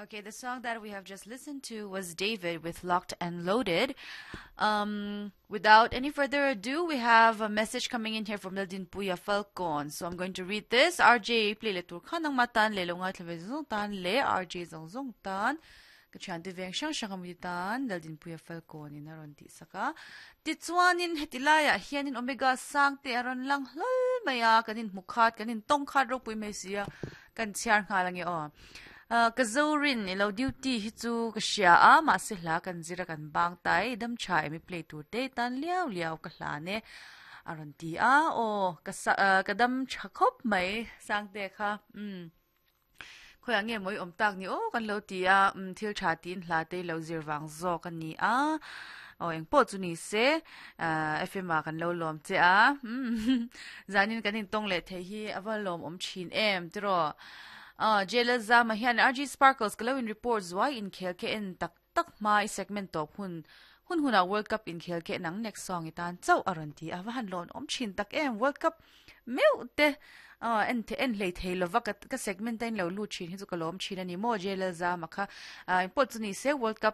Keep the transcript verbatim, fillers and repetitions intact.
Okay, the song that we have just listened to was David with Locked and Loaded. Um, without any further ado, we have a message coming in here from Laldinpuia Falcon. So I'm going to read this. RJ play le tur khanang matan le longa thlave zong tan le RJ zong zong tan. Ka thian te veng hrang hrang ami tan Laldinpuia Falcon in aron ti saka. Ti chuanin hetilaya hianin omega sang te aron lang hlol maya kanin mukhat kanin tong khat ro pui mai sia kan chiar nga langi o. Uh, ka zorin ilo duty hi chu ka hria a ma se hla kan zira kan bang tai dam cha emi play tur te tan liao liao ka hla ne aron ti a o ka uh, ka dam tha khop mai sang te kha um khoi nge moi om tak ni o kan lo ti a um thil tha tin hla te lo zir wang zo kan ni a o eng po chu ni se fm a kan lo lom che a zanin kan in tong le the hi awa lom om thin em tro uh jela zama hian RG Sparkles glowing reports why in khel ke en tak tak mai segment top hun hun huna World Cup in khel ke nang next song itan chau aron ti awa han lon om thin tak em World Cup meu te uh en te en lei thei lova ka ka segment tain lo lu thin hi chu ka lom thin ani mo jela zama kha in po chu ni se World Cup